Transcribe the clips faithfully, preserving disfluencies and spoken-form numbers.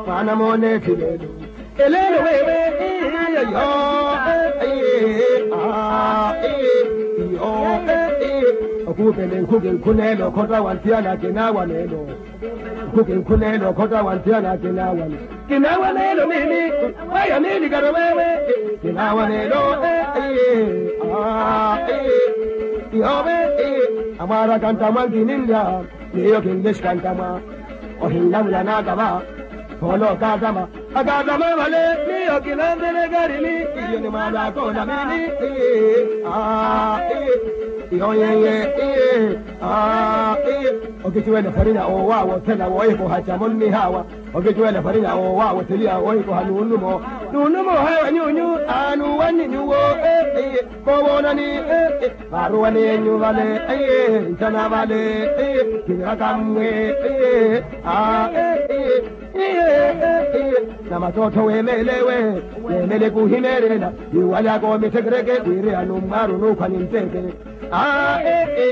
Mwaana moone ethi leelo. Eleelo wewe. Iyo. Iyo. Okuupele nkhuke nkhuneelo okhota wa nthiyana kinaawa neelo. Nkhuke nkhuneelo okhota wa nthiyana kinaawa neelo. Kinaawa neelo mimi. Waya mimi karo wewe. Kinaawa neelo. Iyo. Amwaaraka ntamwa nkininlya. Miyo kinlexika ntamwa. Ohinlamula naakava. Phoolo okaatama. Akaatama vale. Miyo kinanvele karini. Iyo ni mwaala akoola mini. Iyo yeye. Okiciwela farinya owawothela wohikoha camo nnihawa. Okiciwela farinya owawotheliya wohikoha nunumo. Nunumo hawa nyunyu. Anuwanni nyuwo. Kowoonani. Vaaruwani enyu vale. Ncana vale. Kinaka mmwe. Na matootho weemeelewe. Weemele kuhimeerela. Yuwalyaka omithekereke wiri anummwaaru onuukhwa ninteke.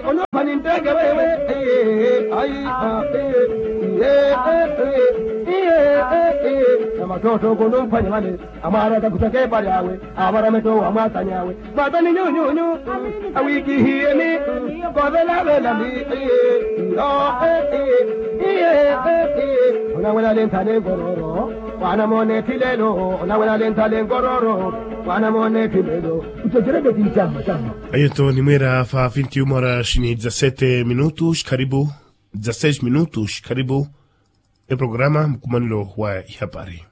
Onuukhwa ninteke wewe. Na matootho kunuukhwanya vale. Amwaaraka khuthaka epari awe. Avarame toowa mwaatani awe. Mwaatani nyunyunyu. Awiikihiyeni. Kovelavela ni. Onawela lentha lenkororo. Mwaana moone ethi leelo. Onawela lentha lenkororo. Mwaana moone ethi leelo. Utetereke ti ncamma camma. Ayo to nimweera fa vinti uma horas ni dezasete minutos karibu. Dezasete minutos karibu. Eprograma mukhumanelo wa ihapari.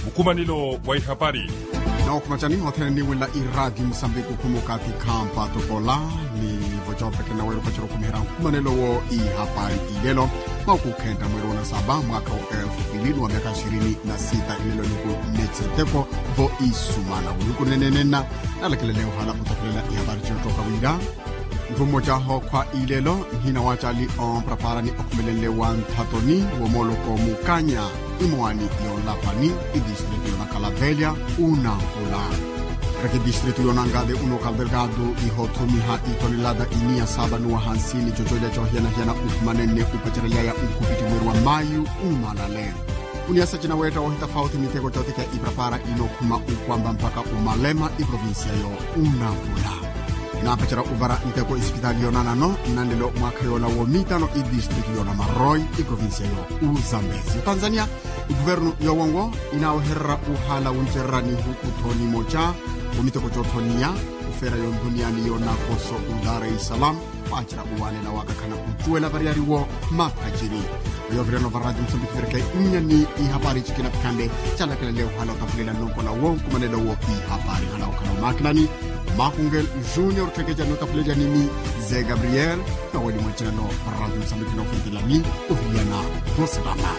Mukhumanelo wa ihapari. Nawo khumacani othene niwela iraati musambiki okhuma okathi khampa tokola. Nivo copeke naweera opacela okhumiherya mukhumanelo wo ihapari ilelo. Mwakukhenta mweeri wa nasaba mwaka wa elfu mbili ni wa myaka ishirini na sita ilelo niku netse nteko. Vo isumana uluku nenenena. Nalakelele ohala otakulela ihapari ciyottooka wira. Nthu mmoca ahookhwa ilelo nhina wa cali ompraparani okhumelenle wa nthatoni womoloko mukanya imowani yonlapani idistritu yonakalavelya unampula. Raki distritu yonangade uno kaldelgado ihothumiha itonelada iniya saba nuwa hansini cococa cohiyana-hiyana ukhumanene upacerelyaya ukhupiti mweri wa mayu umanale. Uniyasa cinaweetta wohitafauti miteko cothikya iprapara inokhuma ukwamba mpaka umalema iprovincia yo unapula. Inaapacera uvara nteko isipitali yonanano nnanlelo mwaakha yola womitano idistritu yonamaroi iprovincia yo uzambezi otanzania. Ikuvernu yowonwo inaawehererya uhala wuncererani hukuthoni moca womiteko cothoniya ufeera yonthuniyani yonakoso udar es salam. Waacira uwanela wakakhana ucuwela variyari wo maphacini. Oyo ovirano varati musambiki vireke nnyani ihapari cikina pikhanle calakelele ohala otapulela nnokola wo nkumanelo wo ihapari hala okhala omakinani. Makungel junior tthekeca notapulela nimi ze gabriel. Naweli mwacinano varati musambiki nofuntelani oviliyana vosilama.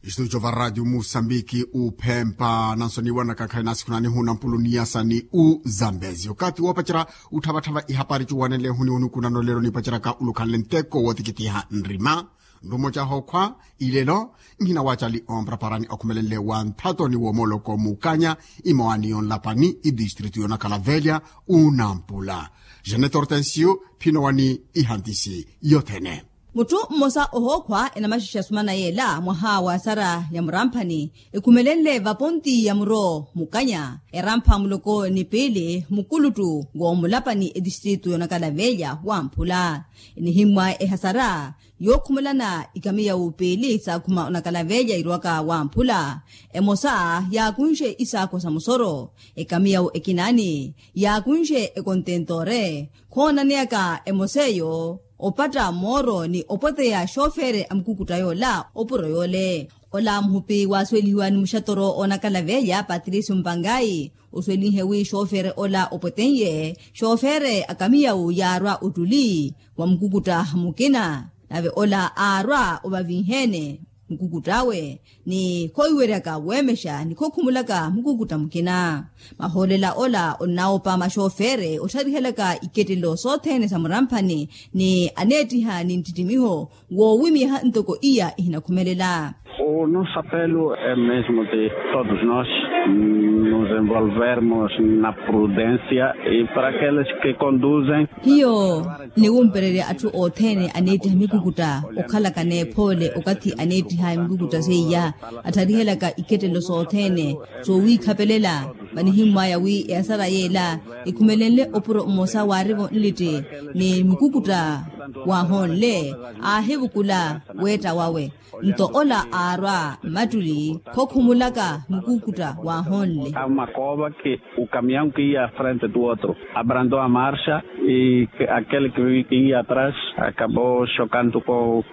Istudio va radio musambiki uphempa nansoniwanaka khayi nasikhunani hunampulu niyasani uzambezi okathi woopacera utthavathava ihapari cuwanenle huni onukunano lelo nipaceraka ulukhanle nteko wootikitiha nrima. Nrumo cahookhwa ilelo nhina wa cali ompraparani okhumelenle wa nthatoni woomoloko mukanya imowani yonlapani idistritu yonakalavelya unampula. Janet hortensio phino wani ihantisi yothene. Mutthu mmosa ohookhwa enamaxixa sumana yeela mwaha wa sara ya muramphani ekhumelenle vaponti ya muro mukanya erampha muloko ni piili mukuluttu w'omulapani etistritu y'onakalaveelya wamphula. Enihimmwa ehasara yookhumelana ikamiya wupiili saakhuma onakalaveelya irwaka wamphula. Emosa yaakunxe isaakho sa musoro ekamiyawu ekinaani yaakunxe ekontentore. Khoonaneyaka emosa eyo opatta mooro ni opweteya xoofere a mukukutta yoola opuro yoole. Ola muhupi waasuwelihiwa ni muxatoro oonakalaveya patricio mpangayi osuwelihe wi xoofere ola opweten'ye xoofere a kamiyawu yaarwa ottuli wa mukukutta mukina. Nave ola aarwa ovavinheene mukukutt'awe ni khowiweryaka weemexa ni khokhumulaka mukukutt'a mukina. Mahoolela ola onnawopa maxoofere ottharihelaka ikettelelo sothene sa muramphani ni aneettiha ni nttittimiho woowimiha ntoko iya ihinakhumelela. O nosso apelo é mesmo de todos nós nos envolvermos na prudência e para aqueles que conduzem. Hiyo niwumpererya atthu othene aneettiha mikukutta okhalaka n'ephoole okathi aneettiha mikukutta seiya attharihelaka ikettelo sothene soowiikhapelela vanihimmwaya wi ehasara yeela ekhumelenle opuro mmosa waarivo nlitti ni mukukutta waahonle aahivukula weetta wawe. Nto ola aarwa mmattuli khokhumulaka mukukutta waahonle. Kama kooba ki ukamiya nkiya frente tu otro abrando a marxa. I akele kiya atras akabo xokantu ko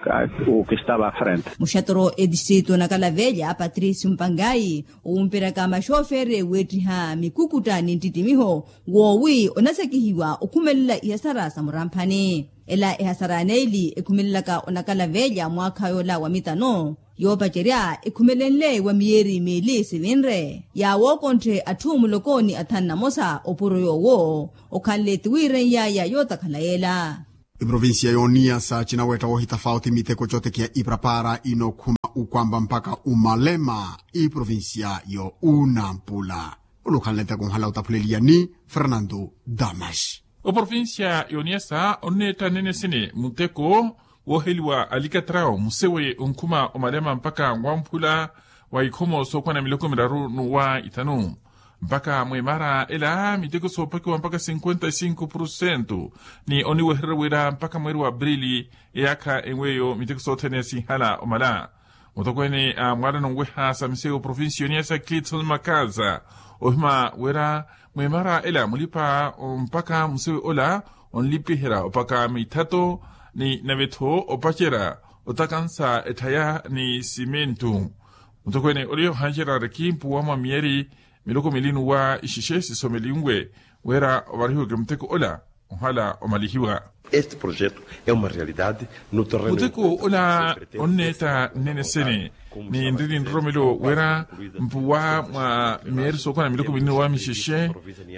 ukistava frente. Muxatoro etistrito nakalavelya patricio mpangayi owumperyaka maxoofere weettiha mikukutta ni nttittimiho woowi onasekihiwa okhumelela ihasara sa muramphani. Ela ehasara ya neeli ekhumelelaka onakalavelya mwaakha yoola wa mitano yoopacerya ekhumelenle wa miyeeri meeli sivinre yaawookontthe atthu muloko ni athanu na mosa opuro yoowo okhanle tiwiireny'aya yootakhala yeela. Iprovincia y'oniyasa cinaweetta woohitafauti miteko cootekiha iprapara inookhuma ukwamba mpakha umalema iprovincia y'unampula. Onukhanle nteko nhala otaphuleliya ni fernando damas. Oprovincia y'oniyasa onneetta nene sene muteko wooheliwa alikatrawo musewe onkhuma omalema mpakha wamphula wa ikhomo sookwana miloko miraru n'uwa ithanu. Mpakha mweemara ela miteko soopakiwa mpakha cinquenta e cinco porcento ni oniwehererya wira mpakha mweeri wa aprili eyaakha enweyo miteko sothene sinhala omala. Mutokweene a mwaalano nweha sa miseyo provincia yoniya sa kitson makaza ohima wira mweemara ela mulipa mpakha musewe ola onlipiherya opaka mithato ni nave-tho opacerya otakansa etthaya ni simentu. Mutokweene oliyo hancerya riki mpuwa mwa miyeri miloko mili n'uwa ixexe sisomelinwe wira ovarihiweke muteko ola ohala omalihiwa. Este projeto é uma realidade no terreno. Muteko ola onneetta nene sene ni nri ni nroromelo wira mpuwa mwa miyeri sookwana miloko mili n'uwa mixexe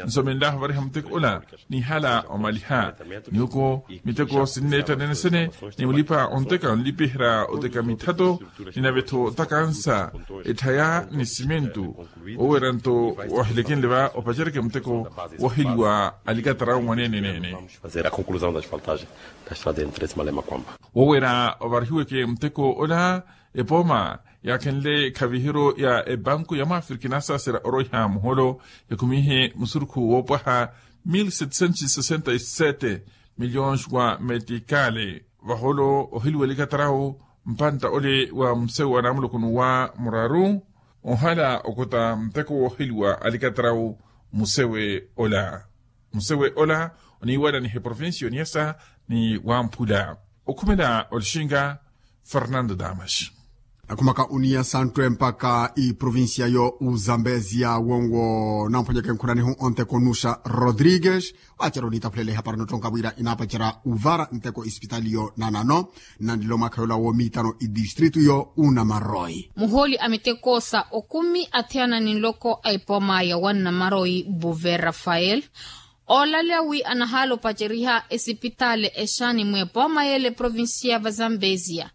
nsomenlahu ovariha muteko ola nihala omaliha. Niwoko miteko sinneetta nene sene ni mulipa onteka onlipiherya oteka mithato ni nave-tho otakansa etthaya ni simentu. Oweera nto wahilekenle va opaceryeke muteko wooheliwa alikatarawu mwaneene neene. Fazer a conclusão da asfaltagem da estrada entre malema kwamba. Woweera ovarihiweke muteko ola epooma yaakhenle ekhaviheryo ya ebanku ya mwaafrika inasaaserya orwaiha muholo yakhumihe musurukhu woopwaha mil setecento sesenta e sete milhões wa metikale. Vaholo oheliwa elikatarawu mpantta ole wa musewu wa naamuloko n'uwa muraru ohala okota muteko wooheliwa alikatarawu musewe ola. Musewe ola oniiwananiha eprovincia oniyasa ni wamphula okhumela olixinga fernando damas. Akhumaka oniyasa nttwe mpaka iprovincia yo uzambezia wonwo namponyeke nkhuranihu onteko nuxa rodrigues. Waacerya onitaphuleleha para nottonka wira inaapacerya uvara nteko isipitali yo nanano nnanlilo mwaakha yola woomiitano idistritu yo unamaroi. Muhooli a miteko sa okumi athiyana ni nloko a epooma ya wannamaroyi buve rafael oolaleya wi anahaala opaceriha esipitaali exaani mweepooma yeele provincia va zambezia.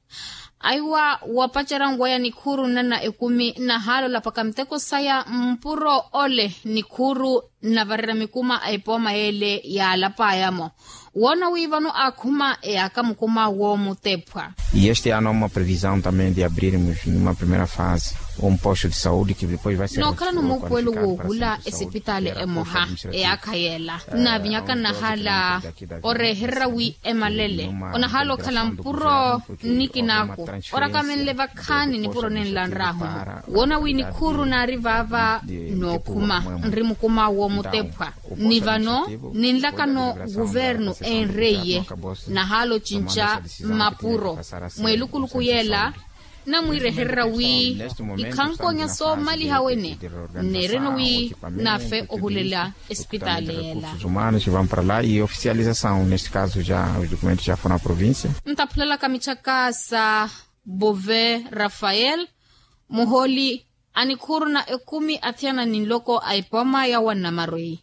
Aiwa wapacerya nweya nikhuuru nnana ekumi nahaala olapaka miteko saya mpuro ole nikhuuru nnavarerya mikuma a epooma yeele yaalapaya-mo. Woona wi vano aakhuma eyaaka mukuma woomutephwa. E este ano há uma previsão também de abrirmos numa primeira fase um posto de saúde que depois vai ser nookhalano muupuwelo woohula esipitaali emoha eyaakha yeela nnaavinyaka nnahaala orehererya wi emalele onahaala okhala mpuro nnikinaaku orakamenle vakhaani nipuro nenla nraahumu. Woona wi nikhuuru naari vaava nookhuma nri mukuma woomutephwa ni vano ninlakano guvernu enreiye nahaala ocinca mapuro mweelukuluku yeela namwiirehererya wi ikhankonya soomaliha wene nneereno wi naafe ohulela esipitaali yeela. Humanos vão para lá e oficialização neste caso já os documentos já foram à província. Ntaphulelaka mitthaka sa bove rafael muhooli a nikhuuru na ekumi athiyana ni nloko a epooma ya wannamaroyi.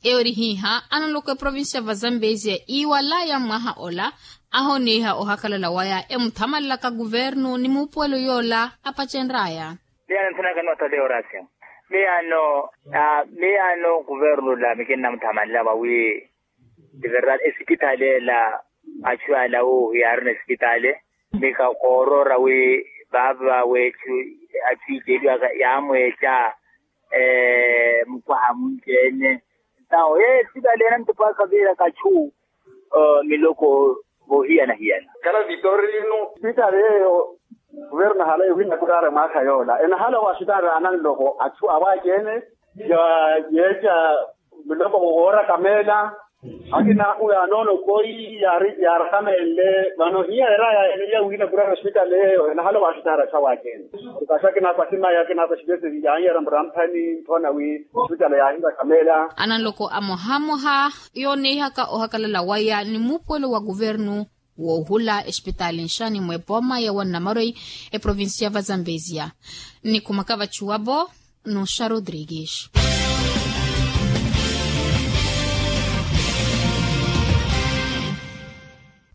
Eyo eri hiiha ananloko eprovincia va zambezia iiwalaya mmwaha ola Ahoniiha ohakalala waya emuthamalelaka kuvernu ni muupuwelo yoola apacenr'aya. Miyaano nthanaka ni wataleya oraasya. Miyaano kuvernu ola mikinnamuthamanela vawi ti verdade esipitali ela achu ala wuuhu yaarina esipitali. Mika kooroora wi vaava weechu achu iceeliwaka yaamweeca mukwaha munci-ene. Ntawo ye esipitali ena ntupwaka viira kachu miloko voohiyana-hiyana. Kala vitorino. Esipitali yeeyo kuvernu enahala ewina kuraara mwaakha yoola enahala owaasitaari ananloko achu awaci-ene ya yeeca miloko woora kameela. Akina ahu yaanoona okoi yaari yaarakameele vano hiya era yaaheleya wina kuraara osipitali eyo enahala owaasitaari achu awaci-ene. Okaxi akina akwati maya akina akwati veseri yaanyeera muramphani nthoona wi osipitali yaahira kameela. Ananloko amohamoha yooneihaka ohakalala waya ni muupuwelo wa kuvernu woohula esipitali nxani mw'epooma ya wannamaroyi eprovincia va zambezia. Nnikhumaka vachuwapo nuxa rodrigues.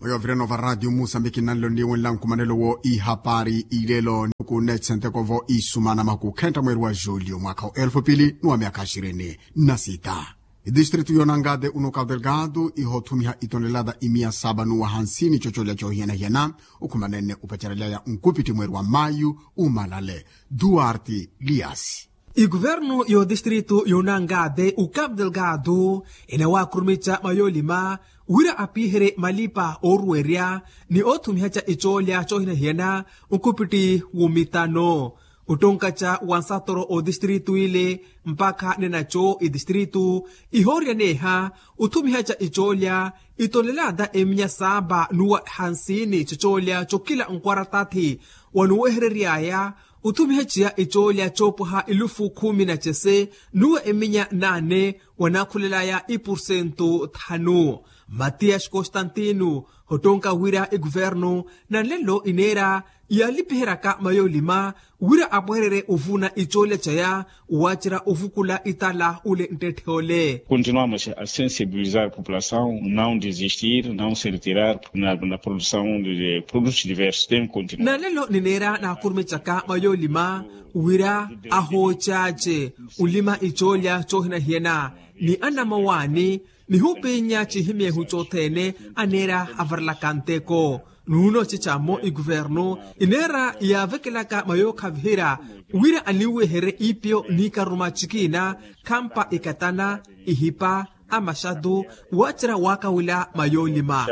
Oyoovirana ova ratio musambiki nnanlo nniiwenla nkumanelo wo ihapari ilelo nikunnetsentekovo isumana makukhenta mweri wa julio mwakha wa elfu pili ni wa myakha axirini na sita. Idistritu yonangate uno cabo delgado ihothumiha itonelada imiya saba nuwa hansini cocolya cohiyana-hiyana. Okhumanene opacerelyaya nkupiti mweri wa mayu umalale duarte liasi. Ikuvernu y'odistritu yonangate ucabo delgado enawaakurumica mayolima wira apiherye malipa ooruwerya ni oothumihaca icoolya cohina-hiyana. Nkupiti wumitano ottonkaca wa nsatoro otistritu ile mpakha nenaco itistritu ihooryaneha othumihaca icoolya itonelada eminya saapa nuwa hansini cocoolya cokila nkwara tathi wanuwehereryaya othumihaciya icoolya coopwaha elufu khumi na cese nuwa eminya naane wanakhulelaya ipursentu thanu. Matiyasi konstantino hottonka wira ikuvernu nanlelo ineera yaalipiheryaka mayoolima wira apwehererye ovuna icoolya caya waacerya ovukula itala ule nttetthe ole. Continuamos a sensibilizar populasaw não desistir não se retirar na produsaw de produtos diversos tem continuar. Nanlelo nineera naakurumicaka mayoolima wira ahoocaace olima icoolya coohinahiyana ni anamawaani nihupinya cihimyehu cothene aneera avarelaka nteko. Nuuno cicamo ikuvernu ineera yaavekelaka mayookhaviherya wira aniweherye iipyo n'ikaruma cikina khampa ikatana ihipa amaxatu waacerya waakawila mayoolima.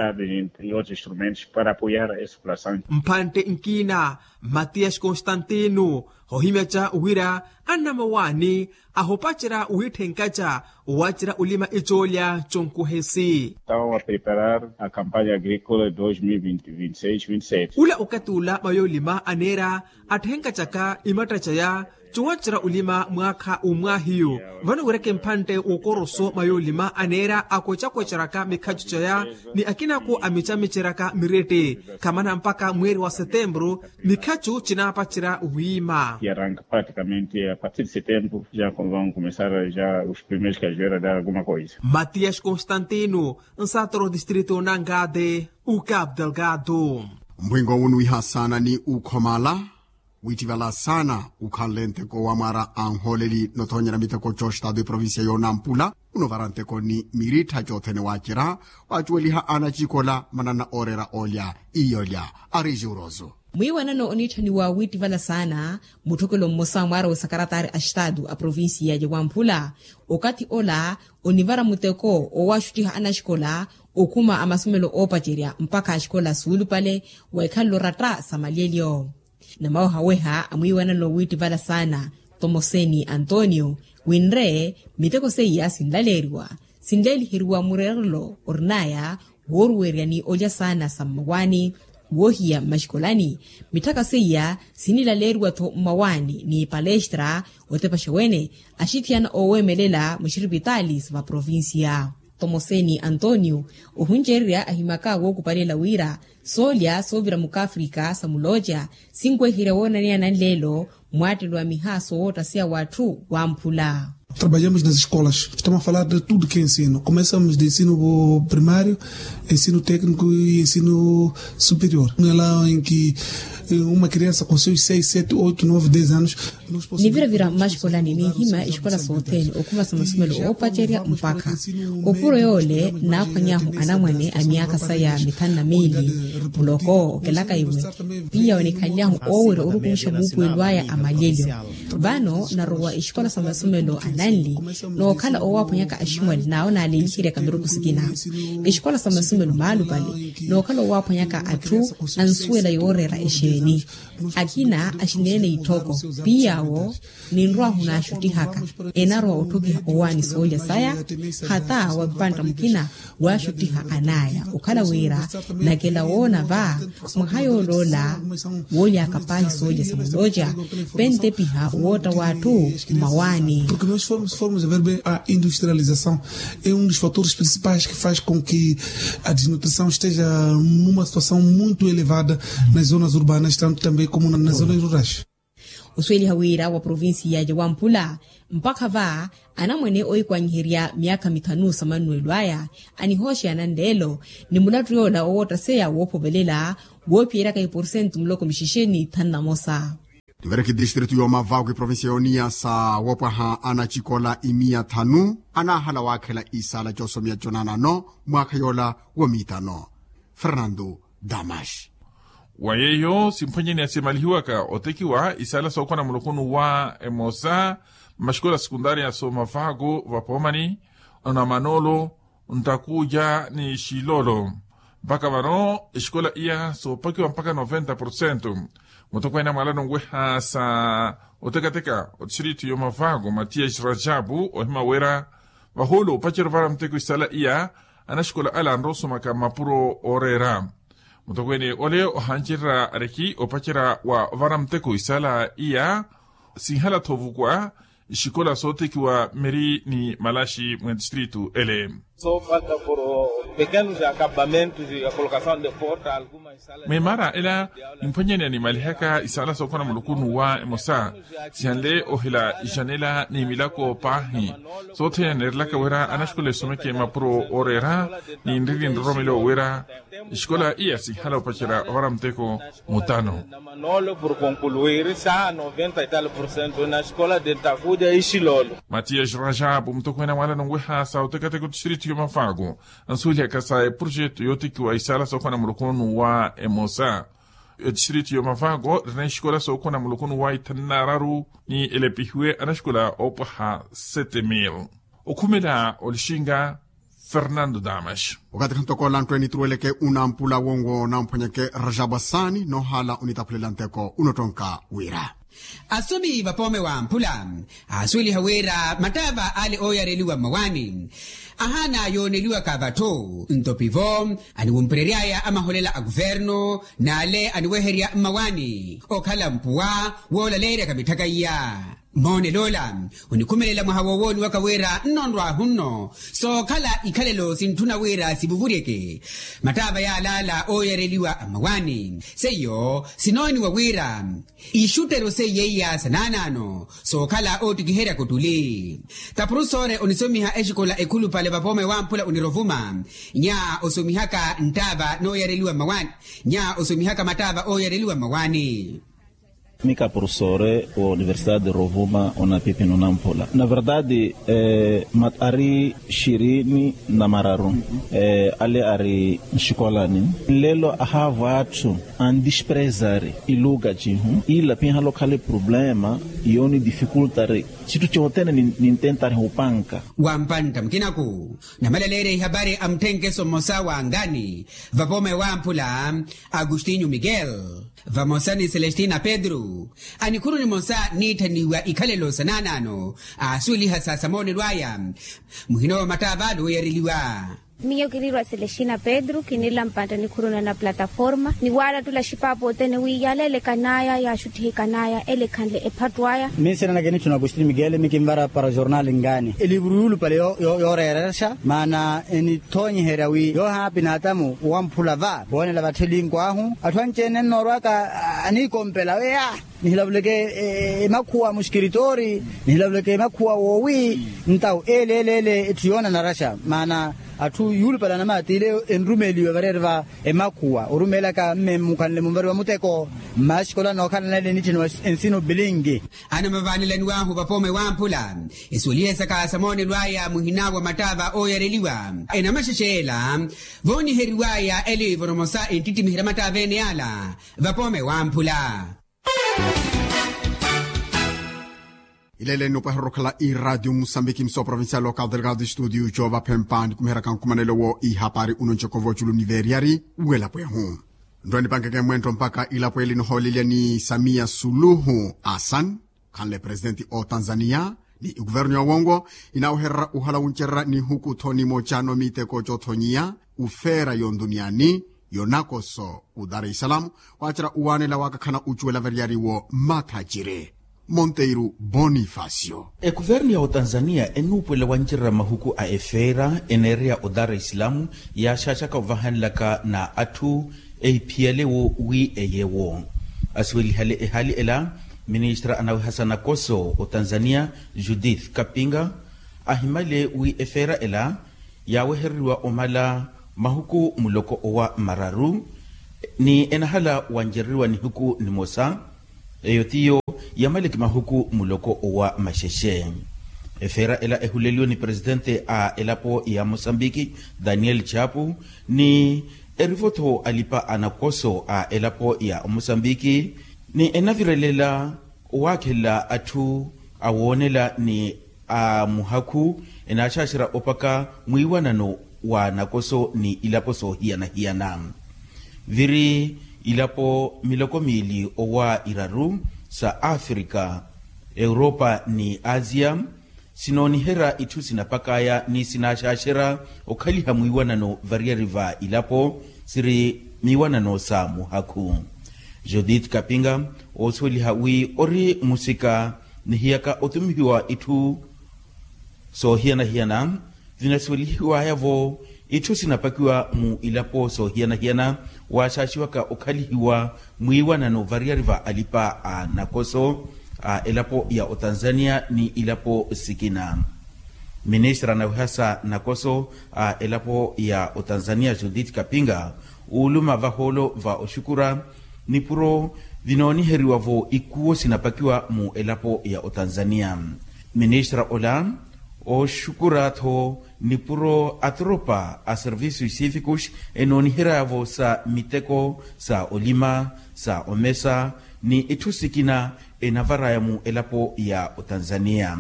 Mpantte nkina matiyasi konstantino hohimyaca wira annamawaani ahopacerya wiitthenkaca waacerya olima icoolya conkuhesi. Estawa preparar a campanya agrikola dos mil vinti vinti seis vinti sete ula okathi ula mayoolima aneera atthenkacaka imatta caya cowacerya olima mwaakha umwaahiyu. Vano wireke mpantte wokoroso mayoolima aneera akwecakweceryaka mikhacu caya ni akinako amicamiceryaka miretti khamana mpakha mweeri wa setempuru mikhacu cinaapacerya wiima. Praticamente a partir de setembro já vão começar já os primeiros cajueira dar alguma coisa. Matiyasi konstantino nsatoro distrito nangate ucabo delgado. Mpwinko unu wiha saana ni ukhomala wiittivala saana ukhanle nteko wa mwaara a nhooleli nothonyera miteko coxtado eprovincia yoonampula unovara nteko ni mirittha cothene waacerya waacuweliha anacikola manana ooreera olya iyolya. Ari juroso mwiiwanano oniitthaniwa wiittivala saana mutthokelo mmosa mwaara wa sakaratari a estado a provincia ya wamphula okathi ola onivara muteko owaxuttiha anaxikola okhuma a masomelo oopacerya mpakha axikola suulupale wa ikhalelo ratta sa malyelyo. Namawehaweha a mwiiwanano wiittivala saana tomoseni antonio winre miteko seiya sinlaleeriwa sinleeliheriwa mureerelo orinaya wooruwerya ni olya saana sa mmawaani woohiya mmaxikolani mitthaka seiya sinilaleeriwa-tho mmawaani ni palestra otepaxa wene axithiyana oowemelela muxiripitaali sa vaprovincia. Tomoseni antonio ohuncererya ahimaka wookupalela wira soolya soovira mukafrika sa mulooca sinweherya woonaneya nanleelo mwaattelwa miha sowoottaseya w'atthu wamphula. Trabalhamos nas escolas, estamos a falar de tudo que é ensino, começamos de ensino primário, ensino técnico e ensino superior, no lado em que uma criança com seus seis, sete, oito, nove, dez anos. Niviravira mmaxikolani ninhimya exikola sothene okhuma sa masumelo oopacerya mpakha opuro yoole naaphwanyahu anamwane a myaakha saya mithanu na miili. Muloko okelaka iwe piya onikhanlyahu oowerya orukumixa muupuwelo aya a malyelyo. Vano narowa exikola sa masumelo ananli nookhala owaaphwanyaka aximwali n'awo naaleeliheryaka miruku sikina. Exikola sa masumelo maalupale nookhala owaaphwanyaka atthu ansuwela yooreera exeeni. Akina axineene itthoko piyawo ninrwahu naaxuttihaka enarowa otthokiha owaani soolya saya hata wa mpantta mukina waaxutthiha anaya okhala wira nakela woona va mwaha yooloola woolyaka paahi soolya sa mulooca pentepiha wootta w'atthu mmawaani. Porque nós formos a ver bem a industrialização é um dos fatores principais que faz com que a desnutrição esteja numa situação muito elevada nas zonas urbanas tanto também como nas zonas rurais. Osuweliha wira wa provincia ya wamphula mpakha va anamwane oikwanyiherya myaakha mithanu sa mannuwelo aya anihooxeya nanleelo ni mulattu yoola owoottaseya woophovelela woophiyeryaka iporsentu muloko mixixeni thanu na mosa. Tivereki distritu y'omavaku iprovincia y'oniyasa woopwaha anacikola imiya thanu anaahala waakhela isaala c'osomiya c'onanano mwaakha yoola wa miitano. Fernando damas. Wa yeeyo simphwanyeneya simalihiwaka otekiwa isaala sookhwana muloko n'uwa emosa mmaxikola sekuntaariya soomavaku vapoomani, onamanoolo, ntakuuja ni xiloolo. Mpakha vano exikola iya soopakiwa mpakha noventa porcento. Mutokweene a mwaalano nweha sa otekateka otistritu y'omavaku matiyas rajabu ohima wira vahoolo opacerya ovara muteko isaala iya anaxikola ale anrowa osomaka mmapuro ooreera. Mutokweene ole ohancererya ariki opacerya wa ovara muteko isaala iya sinhala-tho ovukwa ixikola sootekiwa miri ni malaxi mw'etistritu ele. Sopaka por pekenus akabamentus ya kolokasaw de porta alguma. Mwimaara ela nimphwanyeneya nimalihaka isaala sookhwana mulukunu wa emosa sihanle ohila ijanela ni milako paahi. Sothene neerelaka wira anaxikola esomeke mapuro ooreera ni nrili nroromelo wira exikola iya sihala opacerya ovara muteko mutano. Manolo por konkuluir sa noventa e tal porcento na escola de takuja ixilolo. Matiyas rajabu mutokweene a mwaalano nweha sa otekateka otistritu y'omafaaku ansuwelihaka sa eprojetu yootekiwa isaala sookhwana mulukunu wa emosa. Etistritu y'omafaaku erina exikola sookhwana mulukunu wa ithanu n'araru ni elepihiwe anaxikola oopwaha sete mil. Okhumela olixinga fernando damas. Okatikha ntoko lantwene nituruweleke unampula wonwo namphwanyeke rajabasani noohala onitaphulela nteko unottonka wira. Asomi vapoome wa mphula aasuweliha wira mattaava ale ooyareliwa mmawaani ahaana yooneliwaka vatthu ntopivo aniwumpereryaya amaholela a kuvernu n'ale aniweherya mmawaani okhala mpuwa woolaleeryaka mitthaka iya. Moonel'ola onikhumelela mwaha wowooniwaka wira nnonrwahu nno sookhala ikhalelo sintthuna wira sivuvuryeke. Mattaava yaalaala ooyareliwa a mmawaani seiyo sinooniwa wira ixutteryo seiyeiya sa naanaano sookhala oottikiheryaka ottuli. Taprusore onisomiha exikola ekhulupale vapoome wamphula onirovuma nya osomihaka nttaava nooyareliwa mmawaani nya osomihaka mattaava ooyareliwa mmawaani. Mika profesore wa universidade de rovuma onapipino namphula na verdade. Ari xirini na mararu ale ari nxikolani nlelo ahaavo atthu andisprezari iluka cihu ila pihala okhala eproblema yoonidifikultari citthu cothene nintentari hupanka. Wampantta mukinaku namalaleerya ihapari a mutthenkeso mmosa wa ngani vapoome wamphula agustinho miguel vamosa ni celestina pedro anikhuru nimosa niitthaniwa ikhalelo sa naanaano aasuweliha sa samoonelo aya. Muhina wa mattaava ale ooyareliwa. Miyo kiniirwa celestina pedro kiniila mpantta nikhuru nana plataforma niwaalattula xipaapo othene wi yala elekan'aya yaaxuttihekan'aya ele ekhanle ephattu aya. Minsina nakenitthu na agustin miguel mikinvara para jornal ngani elivuru yuulupale yooreerexa maana enithoonyiherya wi yoohaapi n'atamu wamphula va woonela vatthelinku ahu atthu anci-ene nnoorwaka aniikompela wi ah. Nihilavuleke emakhuwa muxikiritoori, nihilavuleke emakhuwa woowi. Ntawu ele ele ele etthu yoona naraxa maana atthu yuulupalana maatiile enrumeeliwe variyari va emakhuwa orumeelaka mme mukhanle munvariwa muteko. Mmaxikola nookhalana ele nitthini wa ensino bilingi. Anamavaanelaniwahu vapoome wamphula. Esuwelihe saka sa moonelo aya muhina wa mattaava ooyareliwa enamaxexeela vooniheriwaya eliivoro mosa enttittimihira mattaava ene ala vapoome wamphula. Ilele nopwehererya okhala iraatiyo musambiki msowa provincial local delegado studio coova phempa nikumiheraka nkumanelo wo ihapari uno ncoko voculu ni veriyari welapo ehu. Nto enipankeke mwento mpaka ilapo eli nohoolelya ni samiya suluhu asan khanle presidenti o tanzania ni ikuvernu ya wongo inawehererya uhala wuncererya nihuku thoni moocano miteko coothonyiya ufeera yonduniyani yonakoso u dar es salaam. Waacerya uwaanela wakakhana ucuwela variyari wo mathaciri monteiru bonifacio. Ekuvernu ya otanzania enuupuwela wancererya mahuku a efeera eneereya o dar es salaam yaaxaaxaka ovahanlaka na atthu ehiphiyale wo wi eyewo. Asuwelihale ehaali ela ministra anaweha sa nakoso otanzania judith kapinga ahimale wi efeera ela yaawehereriwa omala mahuku muloko owa mararu ni enahala wancereriwa nihiku nimosa. Eyo tiyo yamaleke mahuku muloko owa maxexe. Efeera ela ehuleliwe ni presitente a elapo ya mosambiki daniel chapu ni erivo-tho alipa a nakoso a elapo ya mosambiki ni enavirelela owaakhelela atthu awoonela ni a muhakhu enaaxaaxerya opaka mwiiwanano wa nakoso ni ilapo soohiyana-hiyana. Viri ilapo miloko miili owa iraru sa afrika europa ni asia sinooniherya itthu sinapakaya ni sinaaxaaxerya okhaliha mwiiwanano variyari va ilapo siri miiwanano sa muhakhu. Judith kapinga oosuweliha wi ori musika nihiyaka otumihiwa itthu soohiyana-hiyana vinasuwelihiwaya-vo itthu sinapakiwa mu ilapo soohiyana-hiyana waaxaaxiwaka okhalihiwa mwiiwanano variyari va alipa a nakoso a elapo ya otanzania ni ilapo sikina. Ministra anaweha sa nakoso a elapo ya otanzania judith kapinga ooluma vahoolo va oxukura nipuro vinooniheriwa-vo ikuwo sinapakiwa mu elapo ya otanzania. Ministra ola ooxukura-tho nipuro atoropa a servisu isifikus enooniheryaya-vo sa miteko sa olima sa omesa ni itthu sikina enavaraya mu elapo ya otanzania.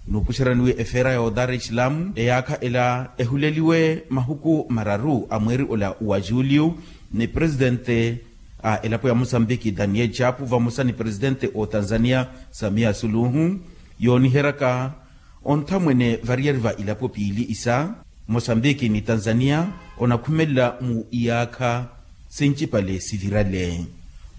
Nuupuxeraniwe efeera ya odar es salaam eyaakha ela ehuleliwe mahuku mararu a mweeri ola wa juliu ni presitente a elapo ya mosambiki daniel chapu vamosa ni presitente o tanzania samia suluhu yooniheryaka onthamwene variyari va ilapo piili isa mosambiki ni tanzania onakhumelela mu iyaakha sincipale sivirale.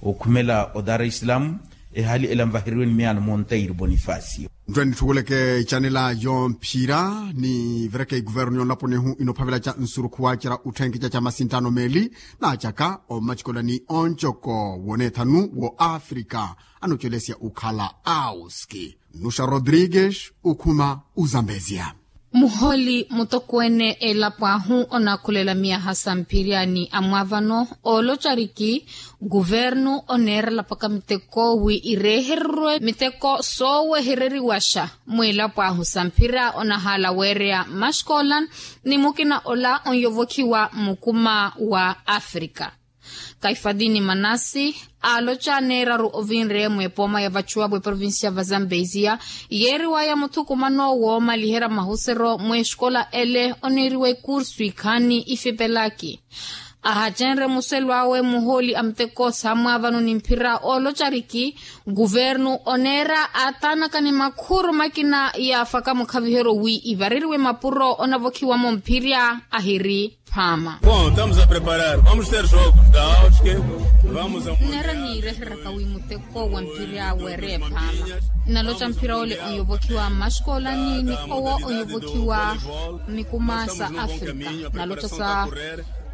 Okhumela o dar es salaam ehaali ela nvaheriwe ni miyaano monteiro bonifacio. Ntthu enitthukuleke icanela yomphira nivereke ikuvernu yonlapo nehu inophavela ca nsurukhu waacerya utthenkeca ca masinttano meeli naacaka ommacikola ni oncoko woneethanu wo afrika anocelesya ukhala auski. Nuxa rodrigues ukhuma uzambezia. Muhooli mutokweene elapo ahu onakhulela miyaha sa mphiryaani amwaavano ooloca ariki kuvernu oneerela paka miteko wi ireehererwe miteko soowehereriwaxa mwiilapo ahu sa mphira onahaala weereya maxikola ni mukina ola onyovokhiwa mukuma wa afrika. Kaifadini manasi aaloca neeraru ovinre mwepooma ya vacuwa vweprovincia va zambezia yeeriwaya muthukumano woomaliherya mahusero mwexikola ele oniiriwa ekursu ikhaani ifipelaki. Ahacenre muselo awe muhooli a muteko saamwaavano ni mphira ooloca ariki kuvernu oneera aataanaka ni makhuru makina yaafaka mukhaviheryo wi ivareriwe mapuro onavokhiwamo mphirya ahiri phaama. Bon, estamos a preparar vamos ter jogos da auske. Vamos a nneera niireheraka wi muteko wa mphirya weereye phaama. Nnaloca mphira ole onyovokhiwa mmaxikoolani ni owo onyovokhiwa mikuma sa afrika. Nnaloca sa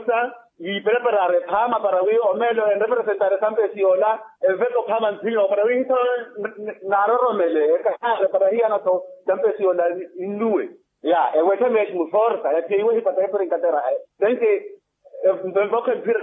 forsa, yiipreparare phaama para wi omeelo enrepresentare sampesi yoola, enveka ophaama nthiyo para wi hitho naaroromele ekahaare para hiyano-tho sampesi yoola. Innuwe ya ewetthe meeti muforsa yatheiwe hipata epirinkatera. Tenki, nvokha mphira,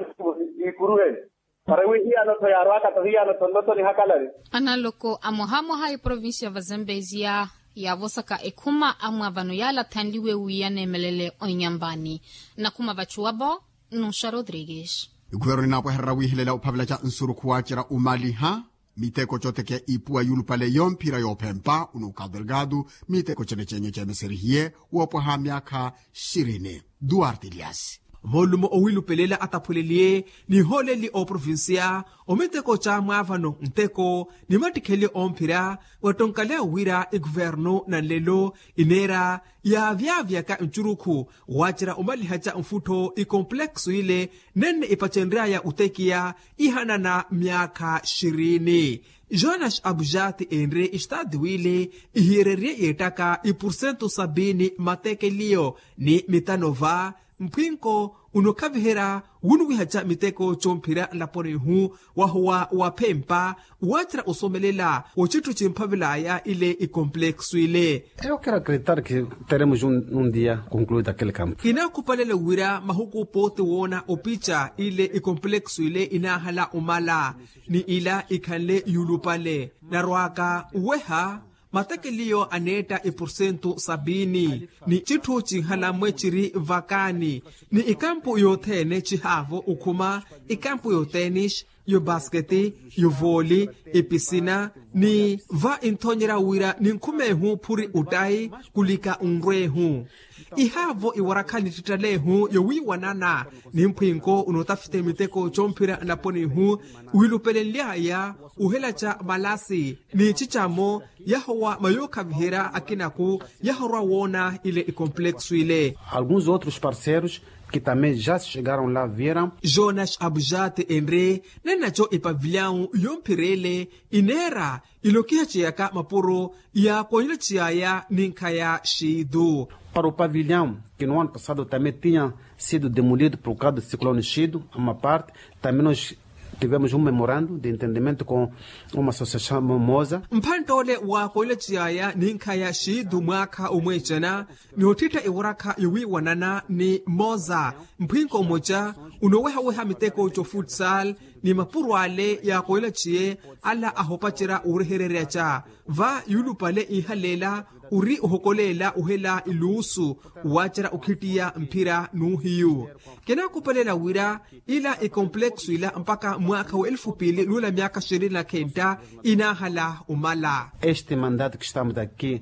ikuruheni para wi hiyano-tho yaarwaka-tho hiyano-tho nlottho nihakalari. Analoko a mwaha mwaha eprovincia va zambezia, yaavosaka ekhuma amwaavano yaalathanliwe wi yaneemelele onyampani. Nakhuma vachuwapo, nnuxa rodrigues. Ikuveroni naapwehererya wiihelela ophavelaca nsurukhu waacerya omaliha miteko cotekeya ipuwa yuulupale yomphira yoophempa unuka delgado, miteko cene cenyu ceemeserihiye woopwaha myaakha xirini. Duarte elias. Moolumo owiilupelela ataphweleliye nihooleli ooprovincia omiteko ca mwaavano nteko ni mattikheliyo omphira. Wattonkaleya wira ikuvernu na nlelo ineera yaavyavyaka ncurukhu waacerya omalihaca mfuttho ikompleksu ile nenne ipacenryaya otekiya ihanana myaakha xirini. Jonas abujati enre estaati wile ihiyererye yeettaka ipursentu sabini matekeliyo ni mitano va mphwinko unokhaviherya wunuwihaca miteko comphira nlaponihu wahuwa waphempa waacerya osomelela wocitthu cimphavelaya ile ikompleksu ile. Eyo kira kritar ki teremos un dia concluida aquele campo. Kinaakhupalela wira mahuku pooti woona opica ile ikompleksu ile inaahala omala ni ila ikhanle yuulupale narwaka weha matekeliyo aneetta ipursentu sabini ni citthu cinhala mmwe ciri vakaani ni ikampu yothene cihaavo okhuma ikampu yotenis yobasketi yovooli episina ni va inthonyerya wira ninkhumehu phuri ottayi kulika onrwehu ihaavo iwarakha nittittalehu yowiiwanana ni mphwinko unootafite miteko comphira nlaponihu wiilupelenly'aya uhelaca malasi ni cicamo yahowa mayookhaviherya akinaku yahorwa woona ile ikompleksu ile. Alguns outros parceiros que também já chegaram lá vieram. Jonas abujate enre nenaco epavilyawu yomphirele ineera ilokihaceyaka mapuro yaakonyolaceyaya ninkhaya xiitu. Para o pavilhão que no ano passado também tinha sido demolido por causa do ciclone chido uma parte também nós tivemos um memorando de entendimento com uma associação moza. Mphanttole waakoyolaceyaya ninkhaya xiitu mwaakha omweecana ni ottitta ewarakha yowiiwanana ni moza mphwinko mmoca unoowehaweha miteko co futsal ni mapuro ale yaakoyolaciye ala ahopacerya wuurehereryaca va yuulupale iihaleela ori ohokoleela ohela iluusu waacerya okhittiya mphira n'uhiyu. Kinaakhupelela wira ila ikompleksu ila mpakha mwaakha wa elfu piili nuula myaakha xirini na khenta inaahala omala. Este mandato que estamos aqui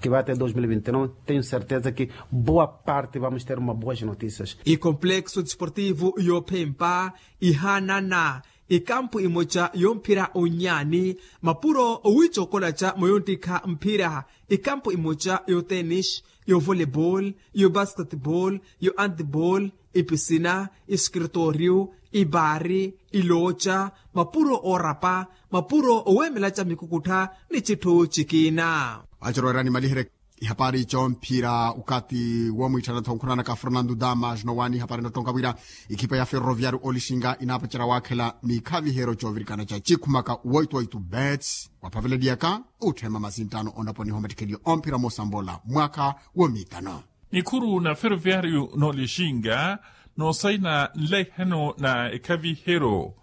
que vai até dois mil e vinte e nove tenho certeza que boa parte vamos ter uma boas notícias. Ikompleksu desportivo yoophempa ihaanana Ikampu imoca yomphira onyaani, mapuro owiica okolaca mwa yonttikha mphira. Ikampu imoca yotenix, yovolebol, yobasketbol, yoantibol, ipisina, iskritoriyu, ibaari, ilooca, mapuro oorapa, mapuro oweemelaca mikukuttha, ni citthu cikiina. Aciroerani malihereke. Ihapari comphira ukati womwitthanatho nkhunanaka fernando damas nowaani ihapari nottonka wira, ikhipa ya ferroviario olixinga inaapacerya waakhela mikhavihero coovirikana ca cikhumaka woitwoitu bets, waphaveleliyaka utthema masinttano onaponiha omattikheliyo omphira mosambola mwaakha womikano. Nikhuru na ferroviario n'olixinga noosayina nlaihano na ekhavihero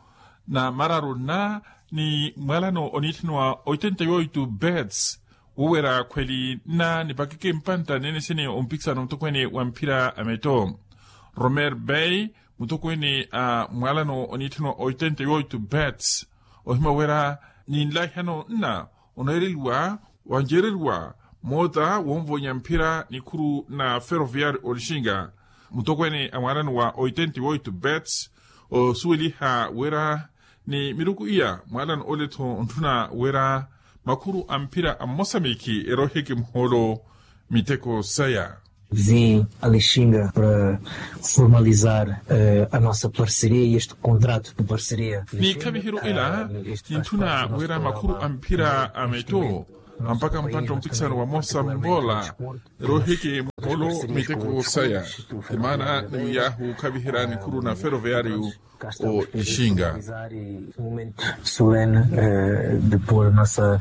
na mararu nna ni mwalano oniitthaniwa oitenta yoitu bets, wowerya khweli nna nipakeke mpantta nene sene ompikisano mutokweene wa mphira a metto. Romer bey, mutokweene a mwalano oniitthaniwa oitenta yoitu bets, ohima werya ni nlaihano nna oneereliwa wanjeereriwa moota wonvonya mphira nikhuru na ferroviario olixinga. Mutokweene a mwalano wa oitenta yoitu bets osuweliha werya ni miruku iya mwalano ole-tho ontthuna werya makhuru a mphira a mmosamikhi erooheke muhoolo miteko saya. Vim a lixinga para formalizar a nossa parceria e este contrato de parceria. Ni ikhavihero ela nintthuna werya makhuru a mphira a metto ampaka mpantta ompikisano wa mosambola erooheke muhoolo miteko saya. Emaana ni wiyaahu okhaviherya nikhuru na ferroviario olixinga. Solene de pôr a nossa,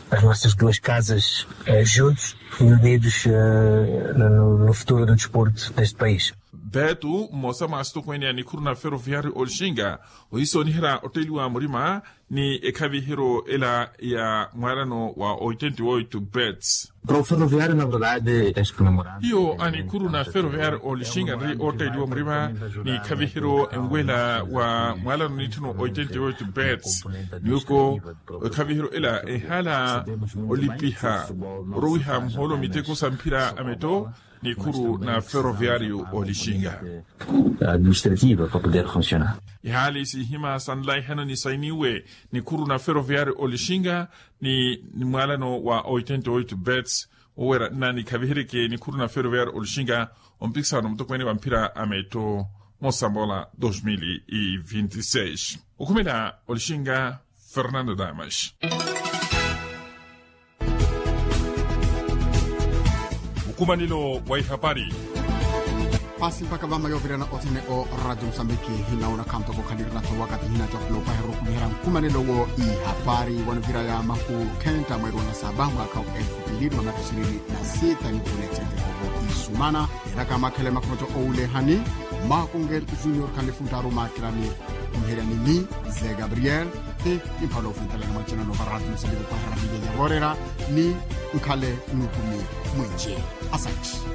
as nossas duas casas juntos e unidos no futuro do desporto deste país. Betu mmosa mwa asitokweene a nikhuru na ferroviario olixinga ohisooniherya otteliwa murima ni ekhaviheryo ela ya mwaalano wa oitenta e oito bets. Para o ferroviário na verdade este memorando hiyo a nikhuru na ferroviário olixinga nri ootteliwa murima ni ekhaviheryo enwela wa mwaalano nitthino oitenta e oito bets. Nyuko ekhaviheryo ela ehala olipiha orowiha muhoolo miteko sa mphira a metto. Nikhuru na ferroviário olixinga administrativa para poder funcionar. Ihaali sihima sanlaihano nisainiwe nikhuru na ferroviário olixinga ni mwaalano wa oitenta e oito bets. Owera nna nikhaviheryeke nikhuru na ferroviário olixinga ompikisano mutokweene wa mphira a metto mosambola dos mil e vinte e seis. Okhumela olixinga fernando damas. Mukumanelo wa ihapari. Pasi mpaka vama yoovirana othene o radio musambiki hinaona khanto kokhalirina tho wakati hinacokulo paherwa okhumihera nkumanelo wo ihapari wanuvira ya mahu khenta mweeri wa nasaba mwaka wa elfu pili na maka ishirini na sita ni vule thentekovo isumana. Eraka makhele makhoto owulehani makunge junior khanifuntaru makirani. Omuheryani ni ze gabriel ti nimphala ofuntalana mwacinano varatu musaliki okwaherana milenye vorera ni nkhale nukumi mwinci. Asanti.